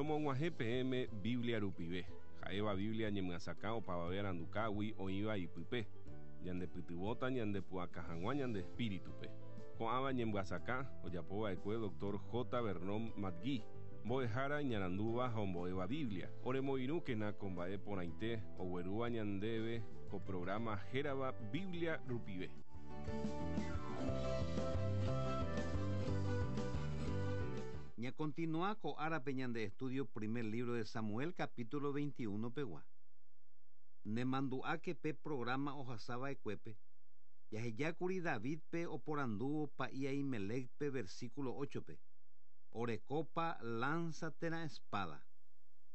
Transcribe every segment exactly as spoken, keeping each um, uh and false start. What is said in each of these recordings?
Romog̃uahẽ peẽme Biblia rupive, ha'éva Biblia ñemyasakã opavave arandukágui oĩva ipype, ñandepytyvõta ñandepu'aka hag̃ua ñande espíritupe. Ko'ãva ñemyasakã ojapova'ekue doctor J. Vernon McGee, mbo'ehára iñarandúva ha ombo'éva Biblia. Oremoirũkena ko mba'e porãite oguerúva ñandéve ko programa hérava Biblia rupive. Ña continúa ko árape ñande estudio primer libro de Samuel capítulo veintiuno pegua. Nemandu'áke pe programa ohasava'ekuépe. Jahejákuri Davidpe oporandúvo pa'i Ahimelecpe versículo ocho-pe. Orekópa lanza térã espada.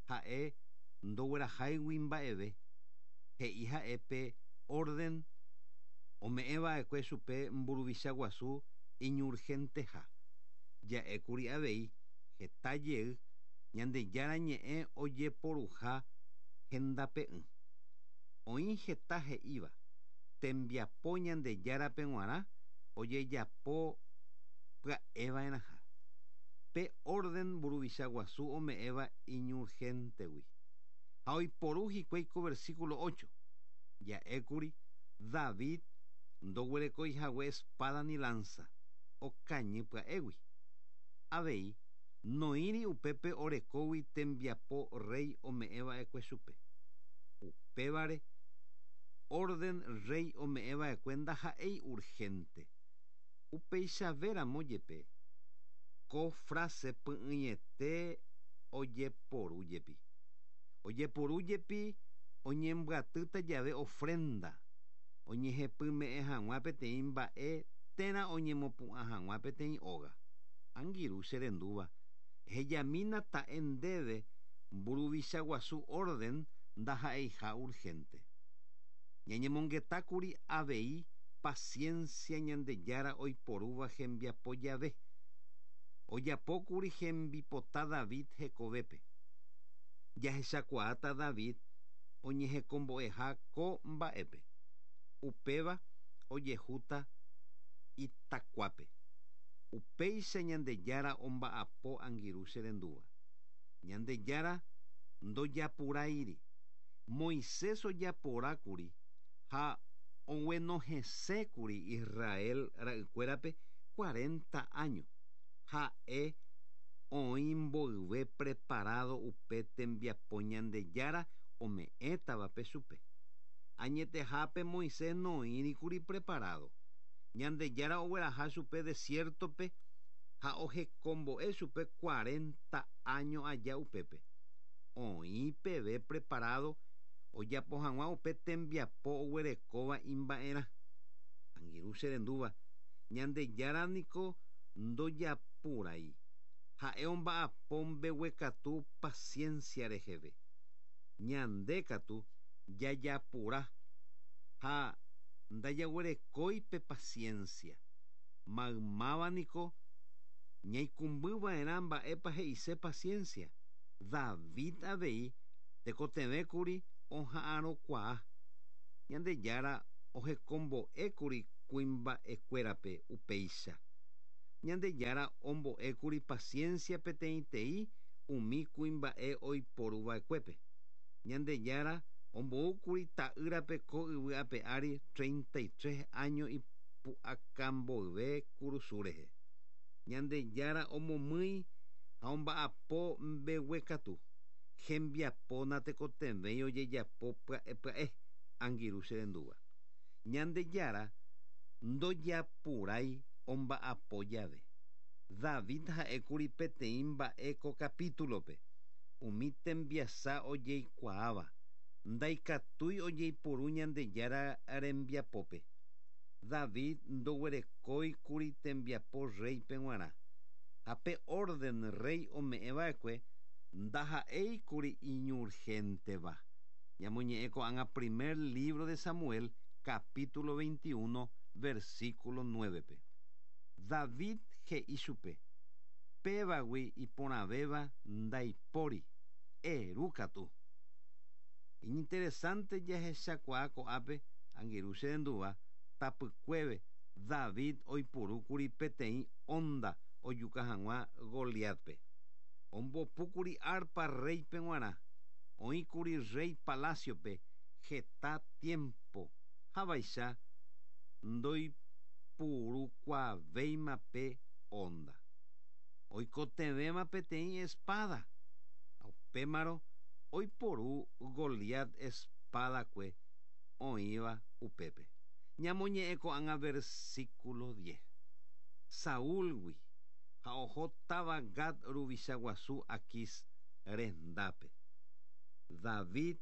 Ha'e ndogueraháigui mba'eve. He'i ha'épe orden ome'ẽva'ekue chupe mburuvicha guasu iñurgenteha. Ja'ékuri avei heta jey Ñandejára ñe'ẽ ojeporuha hendape'ỹ. Oĩ heta he'íva tembiapo Ñandejárape g̃uarã ojejapo pya'eva'erãha. Pe orden mburuvicha guasu ome'ẽva iñurgentegui. Ha oiporu hikuái ko versículo ocho. Ja'ékuri David ndoguerekoihague espada ni lanza okañy pya'égui. Avei noĩri upépe orekógui tembiapo rey ome'ẽva'ekue chupe. Upévare orden rey ome'ẽva'ekue ndaha'éi urgente. Upeichavéramo jepe ko frase py'ỹiete ojeporu jepi. Ojeporu jepi oñembyatýta jave ofrenda oñehepyme'ẽ hag̃ua peteĩ mba'e térã oñemopu'ã hag̃ua peteĩ óga. Angirũ che rendúva hejamína ta'e ndéve mburuvicha guasu orden ndaha'eiha urgente. Ñañemongetákuri avei paciencia Ñandejára oiporúva hembiapo jave. Ojapókuri hembipota David hekovépe. Jahechakuaáta David oñehekombo'eha ko mba'épe. Upéva ojehúta itakuápe. Upéicha Ñandejára omba'apo angirũ che rendúva. Ñandejára ndojapuráiri. Moisés ojaporákuri ha oguenohẽsékuri Israel ra'ykuérape cuarenta años. Ha'e oĩ mboyve preparado upe tembiapo Ñandejára ome'ẽtavape chupe. Añetehápe Moisés noĩrikuri preparado. Ñandejára ogueraha chupe desiertope ha ohekombo'e chupe cuarenta años aja upépe. Oĩ peve preparado ojapo hag̃ua upe tembiapo oguerekóva imba'erã. Angirũ che rendúva Ñandejára niko ndojapurái. Ha'e omba'apo mbeguekatu paciencia reheve. Ñande katu jajapura ha ndajaguerekói pe paciencia. Maymáva niko ñaikũmbyva'erã mba'épa he'ise paciencia. David avei tekotevẽkuri oha'arõkuaa. Ñandejára ohekombo'ékuri kuimba'ekuérape upéicha. Ñandejára ombo'ékuri paciencia peteĩteĩ umi kuimba'e oiporuva'ekuépe. Ñandejára omboúkuri ta'ýrape ko yvy ape ári treinta y tres años ipu'akamboyve kurusu rehe. Ñandejára omomýi ha omba'apo mbeguekatu. Hembiapo natekotevẽi ojejapo pya'e pya'e angirũ che rendúva. Ñandejára ndojapurái omba'apo jave. David ha'ékuri peteĩ mba'e ko capítulope. Umi tembiasa ojeikuaáva ndaikatúi ojeiporu Ñandejára rembiapópe. David ndoguerekóikuri tembiapo reype g̃uarã. Ha pe orden rey ome'ẽva'ekue ndaha'éikuri iñurgenteva. Ñamoñe'ẽ ko'ág̃a primer libro de Samuel capítulo veintiuno versículo nueve-pe. David he'i chupe pévagui iporãvéva ndaipóri eru katu. Iñinteresante jahechakuaa ko'ápe angirũ che rendúva tapykuéve David oipurúkuri peteĩ onda ojuka hag̃ua Goliatpe. Ombopúkuri arpa reype g̃uarã. Oĩkuri rey palaciope heta tiempo. Havaicha ndoipurukuaavéima pe onda. Oikotevẽma peteĩ espada. Upémarõ oiporu Goliat espadakue oĩva upépe. Ñamoñe'ẽ ko'ág̃a versículo diez. Saúlgui ha oho táva Gat ruvicha guasu Aquis rendápe. David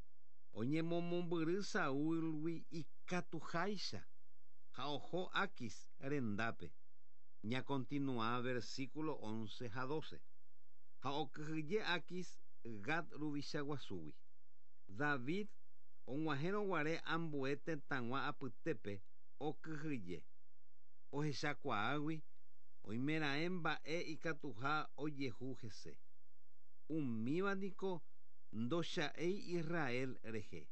oñemomombyry Saúlgui ikatuháicha ha oho Aquis rendápe. Ñakontinua versículo once ha doce. Ha okyhyje Aquis Gat ruvicha guasúgui. David og̃uahẽrõguare ambue tetãgua apytépe okyhyje. Ohechakuaágui oimeraẽ mba'e ikatuha ojehu hese. Umíva niko ndocha'éi Israel rehe.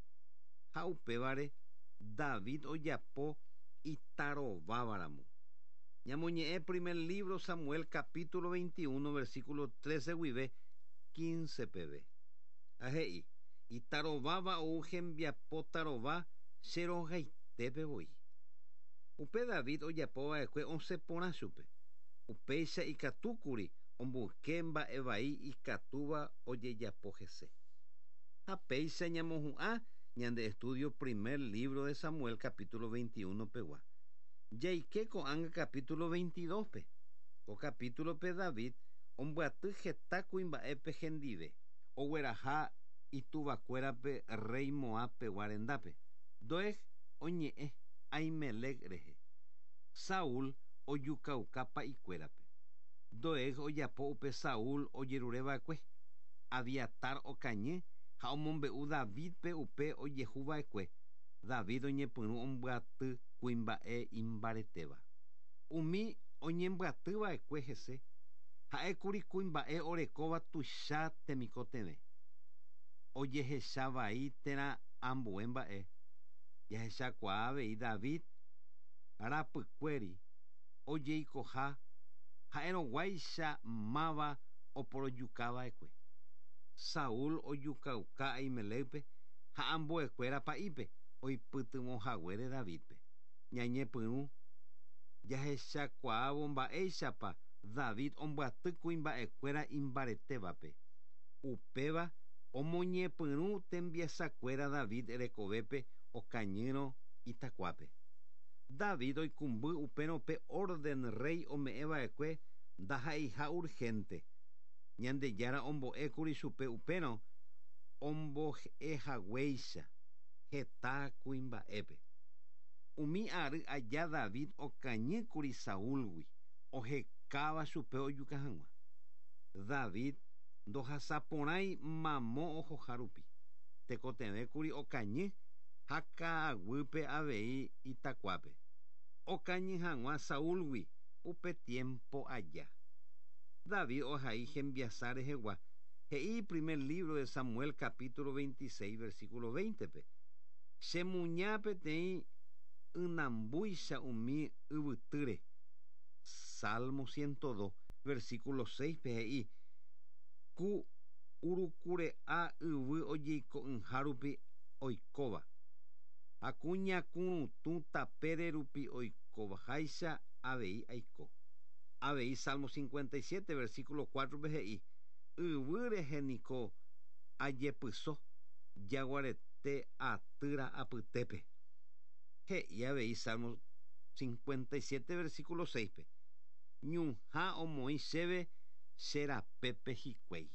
Ha upévare David ojapo itarovávaramo. Ñamoñe'ẽ primer libro Samuel capítulo veintiuno versículo trece guive quince peve. Ha he'i itarováva ou hembiapo tarova che rogaitépe voi. Upe David ojapova'ekue osẽ porã chupe. Upéicha ikatúkuri omboyke mba'e vai ikatúva ojejapo hese. Ha péicha ñamohu'ã ñande estudio primer libro de Samuel capítulo veintiuno pegua. Jaike ko'ág̃a capítulo veintidós pe. Ko capítulo pe David ombyaty heta kuimba'épe hendive. Ogueraha ituvakuérape rey Moab pegua rendápe. Doeg oñe'ẽ Ahimelec rehe. Saúl ojukauka pa'ikuérape. Doeg ojapo upe Saúl ojerureva'ekue. Abiatar okañy ha omombe'u Davidpe upe ojehuva'ekue. David oñepyrũ ombyaty kuimba'e imbaretéva. Umi oñembyatyva'ekue hese ha'ékuri kuimba'e orekóva tuicha temikotevẽ. Ojehechavai térã ambue mba'e. Jahechakuaa avei David rapykuéri ojeikoha ha'erõguáicha máva oporojukava'ekue. Saúl ojukauka Ahimelecpe ha ambuekuéra pa'ípe oipytyvõhaguére Davidpe. Ñañepyrũ jahechakuaávo mba'éichapa David ombyaty kuimba'ekuéra imbaretévape. Upéva omoñepyrũ tembiasakuéra David rekovépe okañýrõ itakuápe. David oikũmby upérõ pe orden rey ome'ẽva'ekue ndaha'eiha urgente. Ñandejára ombo'ékuri chupe upérõ ombo'ehaguéicha heta kuimba'épe. Umi ary aja David okañýkuri Saúlgui ohekáva chupe ojuka hag̃ua. David ndohasaporãi mamo ohoha rupi. Tekotevẽkuri okañy ha ka'aguýpe avei itakuápe. Okañy hag̃ua Saúlgui upe tiempo aja. David ohai hembiasa rehegua. He'i primer libro de Samuel capítulo veintiséis versículo veinte-pe. Chemuña peteĩ ynambúicha umi yvytýre. Salmo ciento dos versículo seis-pe he'i ku urukure'a yvy ojeiko'ỹha rupi oikóva. Ha kuñakurutũ tapére rupi oikovaháicha avei aiko. Avei Salmo cincuenta y siete versículo cuatro-pe he'i yvy rehe niko ajepyso jaguarete atýra apytépe. He'i avei Salmo cincuenta y siete versículo seis-pe. Ñuhã omoĩ chéve che rapépe hikuái.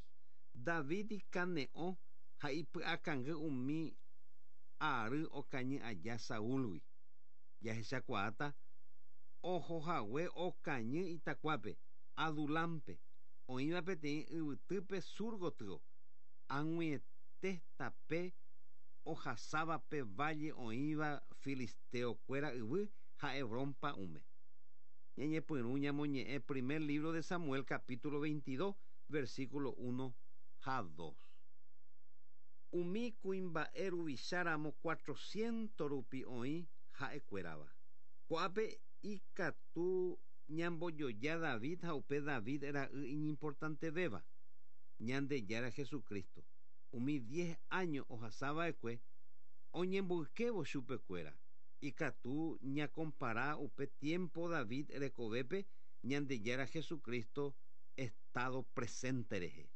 David ikane'õ ha ipy'akangy umi ary okañy aja Saúlgui. Jahechakuaáta ohohague okañy itakuápe Adulampe oĩva peteĩ yvytýpe sur gotyo. Ag̃uiete tape ohasávape valle oĩva filisteokuéra yvy ha Hebrón pa'ũme. Ñañepyrũ ñamoñe'ẽ primer libro de Samuel capítulo veintidós versículo uno ha dos. Umi kuimba'e ruvicháramo cuatrocientos rupi oĩ ha'ekuérava. Ko'ápe ikatu ñambojoja David ha upe David ra'y iñimportantevéva. Ñandejára Jesucristo. Umi diez años ohasava'ekue oñemboykévo chupekuéra. Ikatu ñakompara upe tiempo David rekovépe Ñandejára Jesucristo estado presente rehe.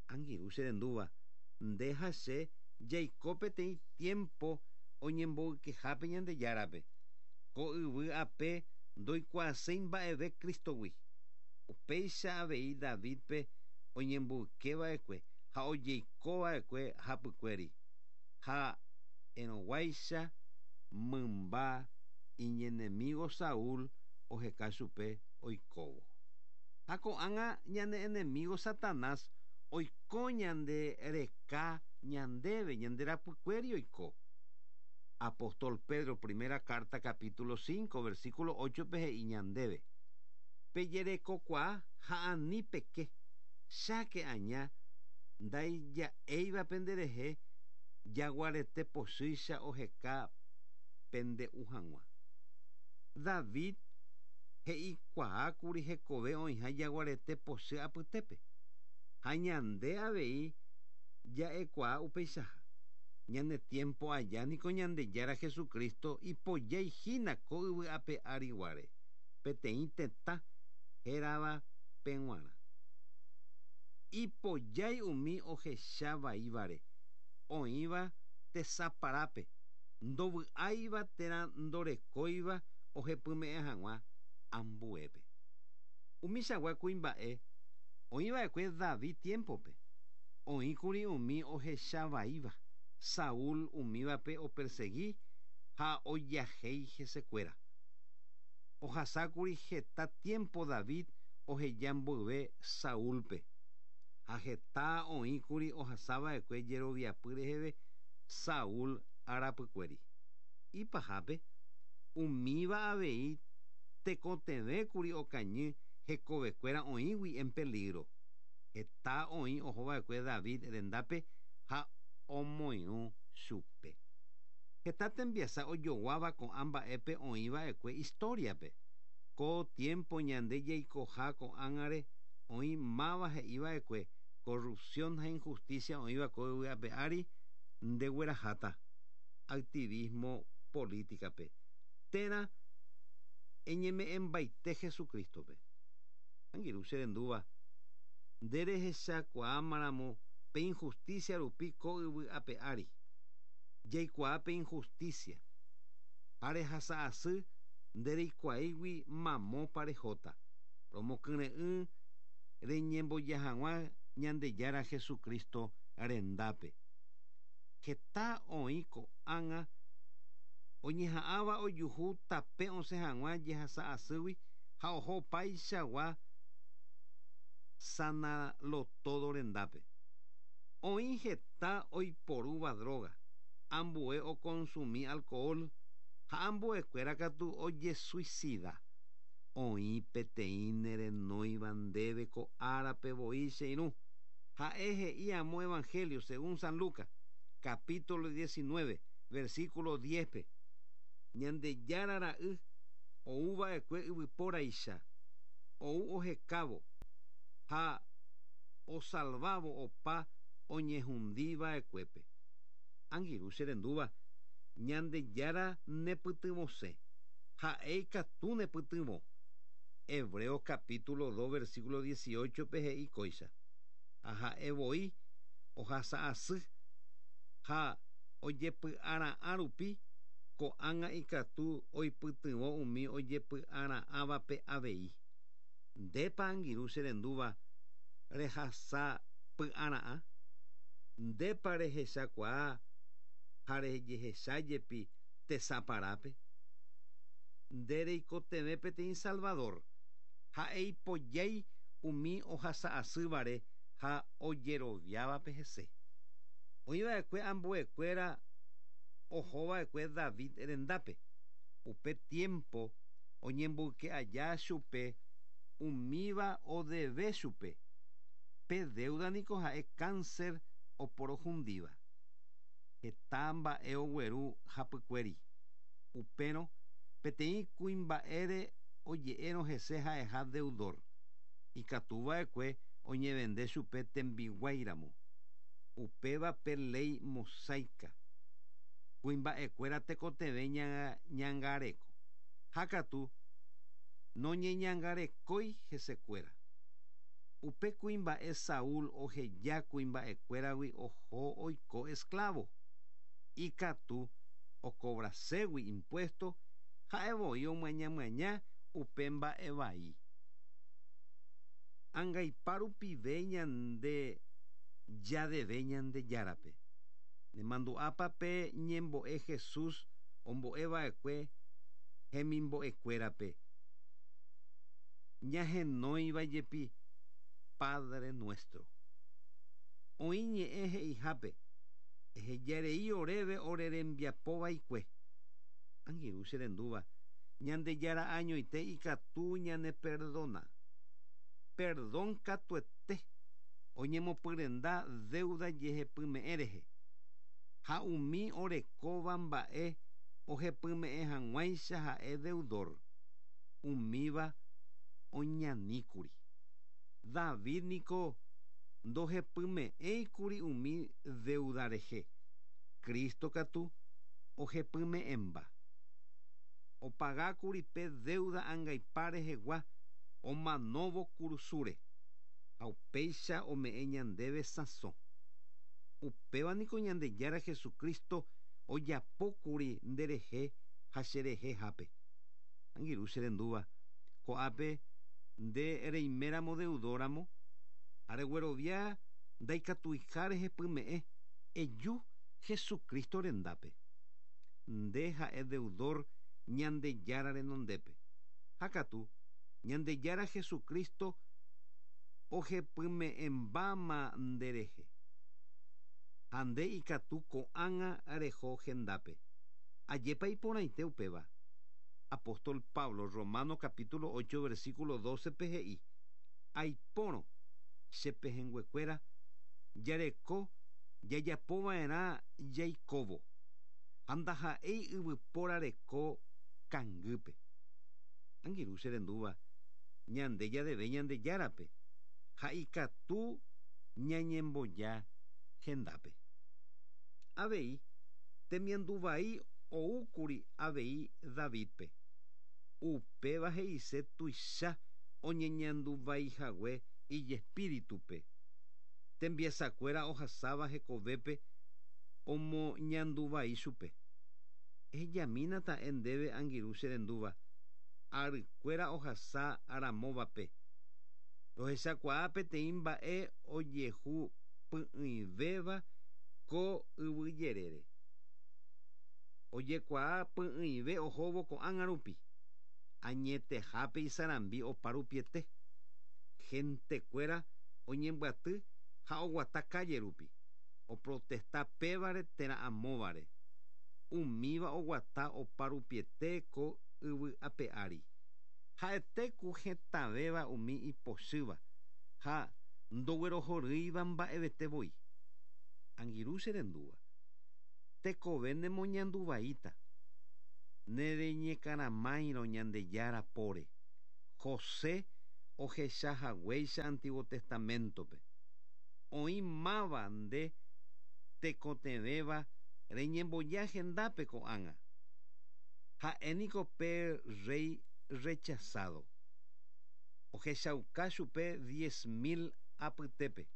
Angirũ che rendúva, nde ha che jaiko peteĩ tiempo oñemboykehápe Ñandejárape. Ko yvy ape ndoikuaaséi mba'eve Cristogui. Upéicha avei Davidpe oñemboykeva'ekue ha ojeikova'ekue hapykuéri. Ha enoguáicha mymba iñenemigo Saúl oheka chupe oikóvo. Ha ko'ág̃a ñane enemigo Satanás oiko ñande reka ñandéve ñande rapykuéri oiko. Apóstol Pedro, primera carta, capítulo cinco, versículo ocho pe he'i ñandéve. Pejerekokuaa ha ani peke, cháke aña ndaija'éiva penderehe jaguarete pochýicha oheka pende'u hag̃ua. David he'ikuaákuri hekove oĩha jaguarete pochy apytépe. Ha ñande avei ja'ekuaa upeichaha. Ñane tiempo aja niko Ñandejára Jesucristo ipojaihína ko yvy ape ariguáre. Peteĩ tetã hérava peg̃uarã. Ipojái umi ohechavaívare oĩva tesaparápe ndovy'áiva térã ndorekóiva ohepyme'ẽ hag̃ua ambuépe. Umichagua kuimba'e oĩva'ekue David tiempope. Oĩkuri umi ohechavaíva Saúl umívape opersegui ha ojahéi hesekuéra. Ohasákuri heta tiempo David oheja mboyve Saúlpe. Ha heta oĩkuri ohasava'ekue jeroviapy reheve Saúl arapykuéri. Ipahápe umíva avei tekotevẽkuri okañy hekovekuéra oĩgui en peligro. Heta oĩ ohova'ekue David rendápe ha omoirũ chupe. Heta tembiasa ojoguáva ko'ã mba'épe oĩva'ekue historiape. Ko tiempo ñande jaikoha ko'ág̃are oĩ máva he'iva'ekue corrupción ha injusticia oĩva ko yvy ape ári ndegueraháta activismo políticape térã eñeme'ẽmbaite Jesucristope. Angirũ che rendúva, nde rehechakuaámaramo pe injusticia rupi ko yvy ape ári. Jaikuaa pe injusticia. Ha rehasa asy ndereikuaáigui mamópa rehóta. Romokyre'ỹ reñemboja hag̃ua Ñandejára Jesucristo rendápe. Heta oĩ ko'ág̃a oñeha'ãva ojuhu tape osẽ hag̃ua jehasa asýgui ha oho opaichagua sanalotodo rendápe. Oĩ heta oiporúva droga, ambue okonsumi alcohol ha ambuekuéra katu ojesuicida. Oĩ peteĩ nerenóiva ndéve ko árape voi che irũ. Ha'e he'i amo Evangelio según San Lucas, capítulo diecinueve, versículo diez-pe. Ñandejára ra'y ouva'ekue yvypóraicha, ou ohekávo ha osalvávo opa oñehundiva'ekuépe. Angirũ che rendúva, Ñandejára nepytyvõse, ha'e ikatu nepytyvõ. Hebreos capítulo dos, versículo dieciocho pe he'i kóicha. Ha ha'e voi ohasa asy ha ojepy'ara'ã rupi ko'ág̃a ikatu oipytyvõ umi ojepy'ara'ãvape avei. Ndépa angirũ che rendúva rehasa py'ara'ã? Ndépa rehechakuaa ha rejehechajepi tesaparápe? Nde reikotevẽ peteĩ Salvador. Ha'e ipojái umi ohasa asývare ha ojeroviávape hese. Oĩva'ekue ambuekuéra ohova'ekue David rendápe. Upe tiempo oñemboyke aja chupe umíva odeve chupe. Pe deuda niko ha'e cáncer oporohundíva. Heta mba'e ogueru hapykuéri. Upérõ peteĩ kuimba'ére oje'érõ hese ha'eha deudor. Ikatuva'ekue Oñevende chupe tembiguáiramo. Upéva pe ley mosaica. Kuimba'ekuéra tekotevẽ ñangareko. Ha katu noñeñangarekói hesekuéra. Upe kuimba'e Saúl oheja kuimba'ekuéragui oho oiko esclavo. Ikatu okobraségui impuesto ha'evoi omyañamyaña upe mba'e vai. Angaipa rupive ñande jadeve Ñandejárape. Nemandu'ápape ñembo'e Jesús ombo'eva'ekue hemimbo'ekuérape. Ñahenóiva jepi Padre Nuestro. Oĩ ñe'ẽ he'ihápe ehejarei oréve orerembiapovaikue. Angirũ che rendúva Ñandejára añoite ikatu ñaneperdona. Perdón katuete oñemopyrenda deuda jehepyme'ẽ rehe. Ha umi orekóva mba'e ohepyme'ẽ hag̃uáicha ha'e deudor. Umíva oñaníkuri. David niko ndohepyme'ẽikuri umi deuda rehe. Cristo katu ohepyme'ẽmba. Opagákuri pe deuda angaipa rehegua omanóvo kurusúre. Ha upéicha ome'ẽ ñandéve sãso. Upéva niko Ñandejára Jesucristo ojapókuri nderehe ha cherehehápe. Angirũ che rendúva ko'ápe nde reiméramo deudóramo areguerovia ndaikatuiha rehepyme'ẽ eju Jesucristo rendápe. Nde ha'e deudor Ñandejára renondépe. Ha katu Ñandejára Jesucristo ohepyme'ẽmbáma nderehe. Ha nde ikatu ko'ág̃a reho hendápe. Ajépa iporãite upéva. Apóstol Pablo, Romano capítulo ocho, versículo doce pe he'i. Aipórõ che pehẽnguekuéra jareko jajapova'erã jaikóvo. Ha ndaha'éi yvypóra reko kangýpe. Angirũ che rendúva ñande jadeve Ñandejárape ha ikatu ñañemboja hendápe. Avei temianduvai oúkuri avei Davidpe. Upéva he'ise tuicha oñeñanduvaihague ijespíritupe. Tembiasakuéra ohasáva hekovépe omoñanduvai chupe. Ehejamína ta'e ndéve angirũ che rendúva. Arykuéra ohasa aramóvape. Rohechakuaa peteĩ mba'e ojehu py'ỹivéva ko yvyjerére. Ojekuaa py'ỹive ohóvo ko'ág̃a rupi. Añetehápe isarambi oparupiete. Gentekuéra oñembyaty ha oguata calle rupi. Oprotesta pévare térã amóvare. Umíva oguata oparupiete ko yvy ape ári. Ha'ete ku hetãvéva umi ipochýva ha ndoguerohorýiva mba'evete voi. Angirũ che rendúva. Tekove nemoñanduvaíta. Nereñekaramáirõ Ñandejára póre. José ohechahaguéicha Antiguo Testamentope. Oĩ máva nde tekotevẽva reñemboja hendápe ko'ág̃a. Ha'éniko pe rey rechazado. Ohechauka chupe diez mil apytépe.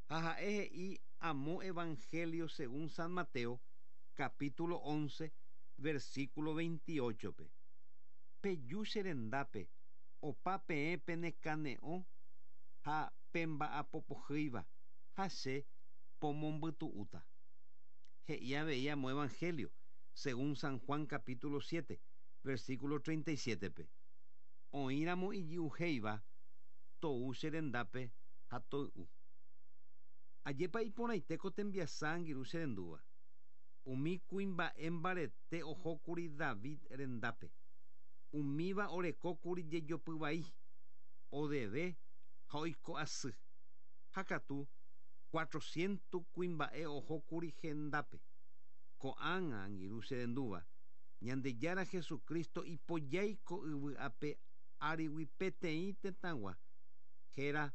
Ha ha'e he'i amo Evangelio según San Mateo, capítulo once, versículo veintiocho-pe. Peju che rendápe, opa peẽ penekane'õ ha pemba'apopohýiva ha che pomombytu'úta. He'i avei amo Evangelio según San Juan capítulo siete, versículo treinta y siete-pe. Oĩramo ijy'uhéiva tou che rendápe ha toy'u. Ajépa iporãite ko tembiasa angirũ che rendúva. Umi kuimba'e mbarete ohókuri David rendápe. Umíva orekókuri jejopyvai, odeve ha oiko asy. Ha katu cuatrocientos kuimba'e ohókuri hendápe. Ko'ág̃a angirũ che rendúva Ñandejára Jesucristo ipojáiko yvy ape árigui peteĩ tetãgua héra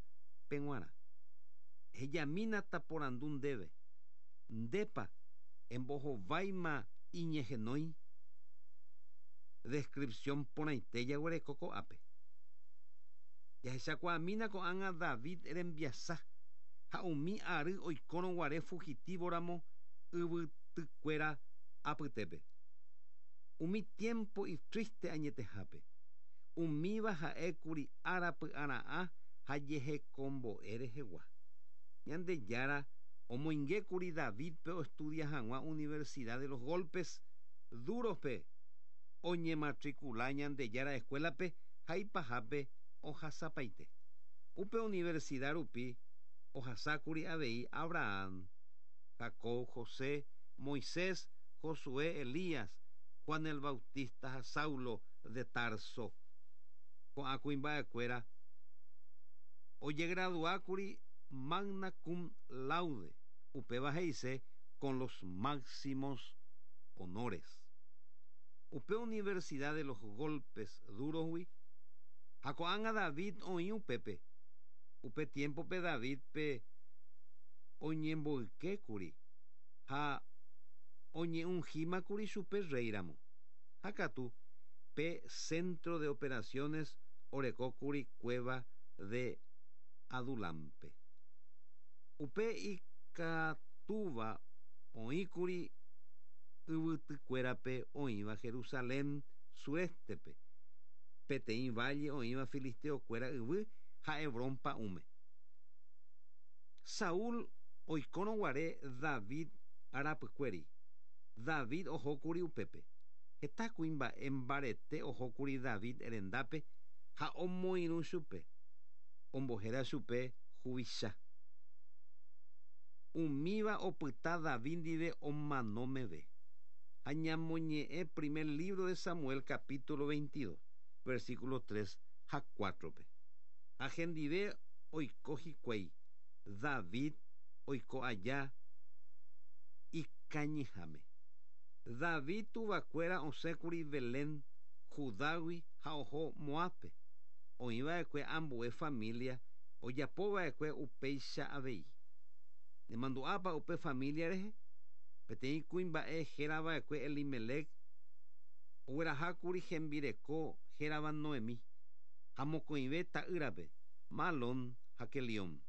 G̃uarã. Hejamína taporandu ndéve. Ndépa embohováima iñehenói. Descripción porãite jaguereko ko'ápe. Jahechakuaamína ko'ág̃a David rembiasa ha umi ary oikórõguare fugitivoramo yvytykuéra apytépe. Umi tiempo itriste añetehápe. Umíva ha'ékuri ára py'ara'ã ha jehekombo'e rehegua. Ñandejára omoingékuri Davidpe oestudia hag̃ua Universidad de los Golpes Durospe oñematricula Ñandejára escuelape ha ipahápe ohasapaite. Upe universidad rupi ohasákuri avei Abraham, Jacob, José, Moisés, Josué, Elías, Juan el Bautista ha Saulo de Tarso. Ko'ã kuimba'ekuéra ojegraduákuri magna cum laude, upéva he'ise con los máximos honores. Upe Universidad de los Golpes Durosgui ha ko'ág̃a David oĩ upépe. Upe tiempope Davidpe oñemboykékuri ha oñeungímakuri chupe réiramo. Ha katu pe centro de operaciones orekókuri cueva de Adulampe. Upe ikatúva oĩkuri yvytykuérape oĩva Jerusalén surestepe, peteĩ valle oĩva filisteokuéra yvy ha Hebrón pa'ũme. Saúl oikórõguare David arapykuéri. David ohókuri upépe. Heta kuimba'e mbarete ohókuri David rendápe ha omoirũ chupe. Ombohéra chupe huvicha. Umíva opyta David ndive omano meve. Ha ñamoñe'ẽ primer libro de Samuel capítulo veintidós, versículo tres ha cuatrope. Ha hendive oiko hikuái. David oiko aja ikañyháme. David tuvakuéra osẽkuri Belén, Judágui ha oho Moápe. Oĩva'ekue ambue familia ojapova'ekue upéicha avei. Nemandu'ápa upe familia rehe? Peteĩ kuimba'e hérava'ekue Elimelec oguerahákuri hembireko hérava Noemí ha mokõive ta'ýrape, Malón ha Kelión.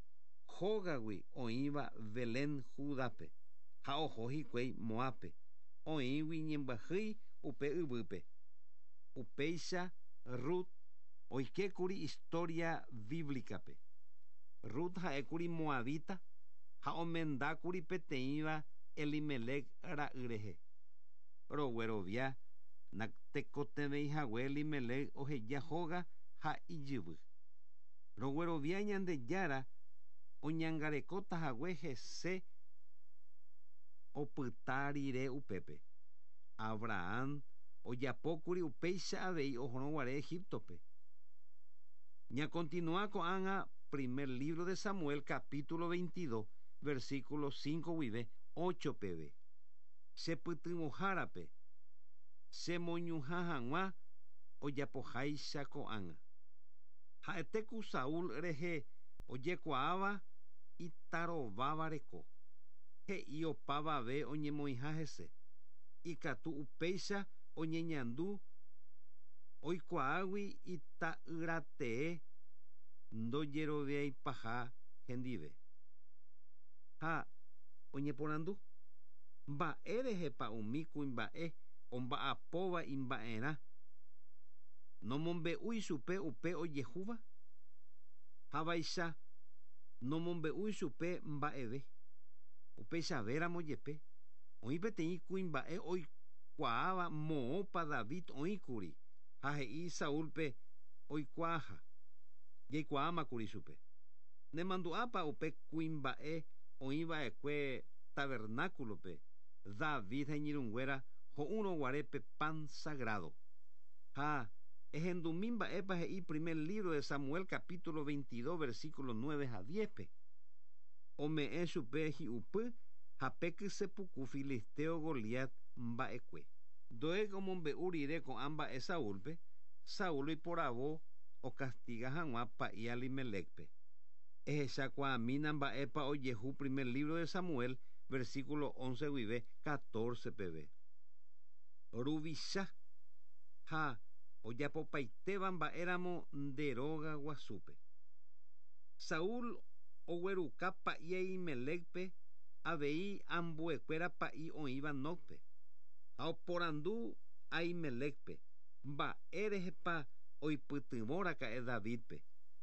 Hógagui oĩva Belén Judápe ha oho hikuái Moápe, oĩgui ñembyahýi upe yvýpe. Upéicha Rut oikékuri historia bíblicape. Rut ha'ékuri moabita ha omendákuri peteĩva Elimelec ra'y rehe. Roguerovia natekotevẽihague Elimelec oheja hóga ha ijyvy. Roguerovia Ñandejára oñangarekótahague hese opyta rire upépe. Abraham ojapókuri upéicha avei ohorõguare Egiptope. Ñakontinúa ko'ág̃a primer libro de Samuel capítulo veintidós, versículo cinco guive ocho peve. Chepytyvõhárape chemoñuhã hag̃ua ojapoháicha ko'ág̃a. Ha'etéku Saúl rehe ojekuaáva itarováva reko. He'i opavave oñemoĩha hese. Ikatu upéicha oñeñandu oikuaágui ita'yratee ndojeroviaipaha hendive. Ha oñeporandu mba'érehepa umi kuimba'e omba'apóva imba'erã nomombe'úi chupe upe ojehúva havaicha nomombe'úi chupe mba'eve. Upeichavéramo jepe oĩ peteĩ kuimba'e oikuaáva moõpa David oĩkuri ha he'i Saúlpe oikuaaha. Jaikuaámakuri chupe. Nemandu'ápa upe kuimba'e oĩva'ekue tabernáculope David ha iñirũnguéra ho'úrõguare pe pan sagrado. Ha ehendumi mba'épa he'i primer libro de Samuel capítulo veintidós, versículo nueve ha diezpe. Ome'ẽ chupe hi'upy ha pe kysepuku filisteo Goliat mba'ekue. Doeg omombe'u rire ko'ã mba'e Saúlpe, Saúl oiporavo ocastiga hag̃ua pa'i Elimelecpe. Ehechakuaamína mba'épa ojehu primer libro de Samuel, versículo once guive catorce peve. Ruvicha ha ojapopaitéva mba'éramo nde róga guasúpe. Saúl ogueruka pa'i Ahimelecpe avei ambuekuéra pa'i oĩva Nobpe. Ha oporandu Ahimelecpe mba'érehepa oipytyvõraka'e Davidpe.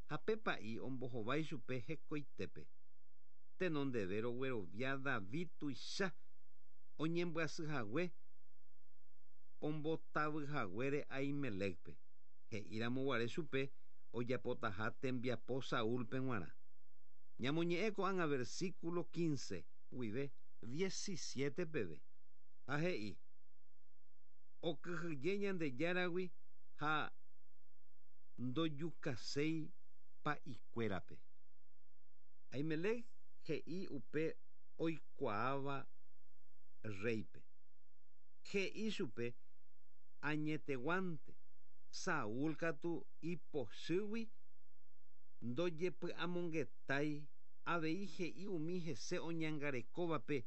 Ha pe pa'i ombohovái chupe hekoitépe. Tenondeve roguerovia David tuicha oñembyasyhague ombotavyhaguére Ahimelecpe. He'íramoguare chupe ojapotaha tembiapo Saúlpe g̃uarã. Ñamoñe'ẽ ko'ág̃a versículo quince guive diecisiete peve. Ha he'i okyhyje Ñandejáragui ha ndojukaséi pa'ikuérape. Ahimelec he'i upe oikuaáva reype. He'i chupe añeteguánte Saúl katu ipochýgui ndojepy'amongetái avei he'i umi hese oñangarekóvape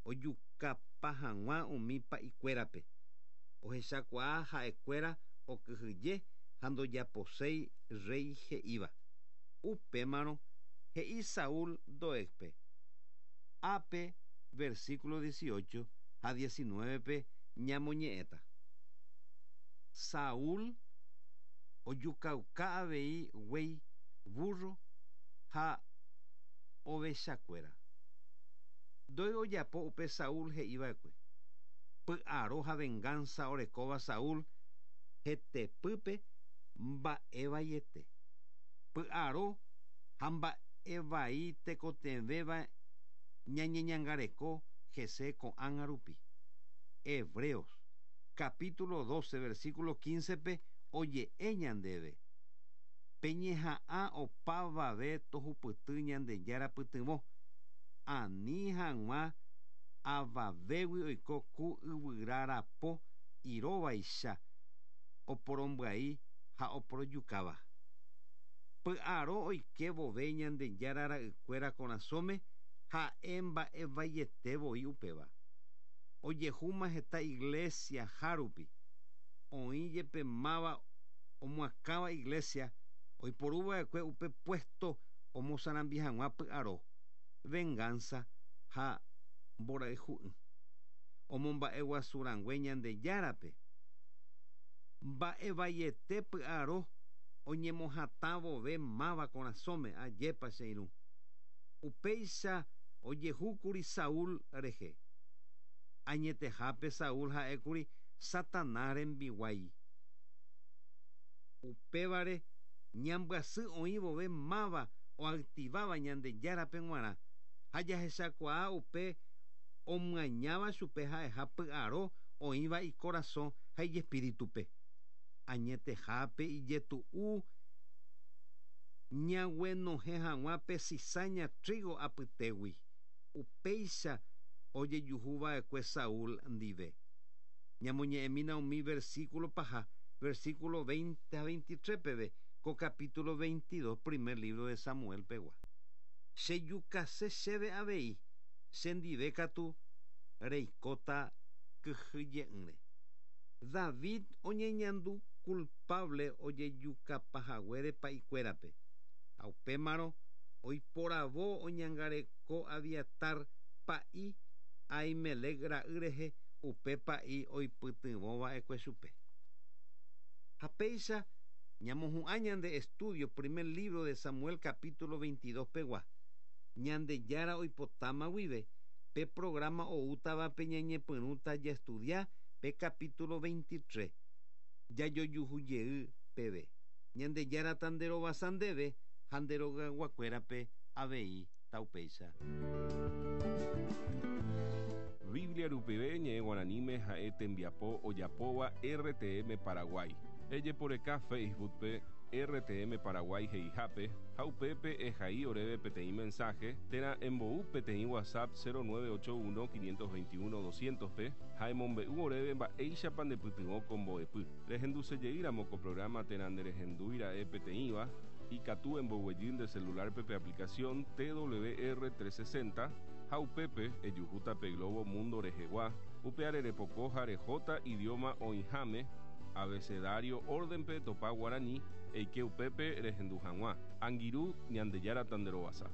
ojukapa hag̃ua umi pa'ikuérape. Ohechakuaa ha'ekuéra okyhyje ha ndojaposéi rey he'íva. Upémarõ he'i Saúl Doegpe. Ápe versículo dieciocho ha diecinueve ñamoñe'ẽta. Saúl ojukauka avei guéi, burro ha ovechakuéra. Doeg ojapo upe Saúl he'iva'ekue. Py'aro ha venganza orekóva Saúl hetepýpe mba'evaiete. Py'aro ha mba'evai tekotevẽva ñañeñangareko hese ko'ág̃a rupi. Hebreos capítulo doce versículo quince pe oje'e ñandéve. Peñeha'ã opavave tohupyty Ñandejára pytyvõ. Ani hag̃ua avavégui oiko ku yvyra rapo iróvaicha oporombyai ha oporojukáva. Py'aro oike vove Ñandejára ra'ykuéra korasõme ha'e mba'evaiete voi upéva. Ojehúma heta iglesia hárupi. Oĩ jepe máva omoakãva iglesia oiporuva'ekue upe puesto omosarambi hag̃ua py'aro, venganza ha mborayhu'ỹ. Omomba'eguasurangue Ñandejárape. Mba'evaiete py'aro oñemohatã vove máva korasõme ajépa che irũ. Upéicha ojehúkuri Saúl rehe. Añetehápe Saúl ha'ékuri Satanás rembiguái. Upévare ñambyasy oĩ vove máva oactiváva Ñandejárape g̃uarã. Ha jahechakuaa upe omyañáva chupe ha'eha py'aro oĩva ikorasõ ha ijespíritupe. Añetehápe ijetu'u ñaguenohẽ hag̃ua pe cizaña trigo apytégui. Upéicha ojejuhuva'ekue Saúl ndive. Ñamoñe'ẽmína umi versículo paha, versículo veinte ha veintitrés peve, ko capítulo veintidós, primer libro de Samuel pegua. Chejukase chéve avei, chendive katu reikóta kyhyje'ỹre. David oñeñandu culpable ojejukapahaguére pa'ikuérape. Ha upémarõ oiporavo oñangareko Abiatar pa'i Ahimelec ra'y rehe upe pa'i oipytyvõva'ekue chupe. Ha péicha ñamohu'ã ñande estudio primer libro de Samuel capítulo veintidós pegua. Ñandejára oipotáma guive pe programa oútavape ñañepyrũta jaestudia pe capítulo veintitrés. Jajojuhujey peve. Ñandejára tanderovasa ndéve ha nde rogayguakuérape avei taupéicha. Biblia rupive ñe'ẽ guaraníme ha'e tembiapo ojapóva R T M Paraguay. Ejeporeka Facebookpe R T M Paraguay he'ihápe ha upépe ehai oréve peteĩ mensaje térã embou peteĩ WhatsApp cero nueve ocho uno quinientos veintiuno doscientos pe ha emombe'u oréve mba'éichapa ndepytyvõ ko mbo'epy. Rehendusejeýramo ko programa térã nderehendúira'e peteĩva Ikatu emboguejy nde celular pe aplicación T W R trescientos sesenta ha upépe ejuhúta pe globo mundo rehegua, upe arerepoko ha rehóta idioma oĩháme abecedario órdenpe topa guarani eike upépe rehendu hag̃ua. Angirũ, Ñandejára tanderovasa.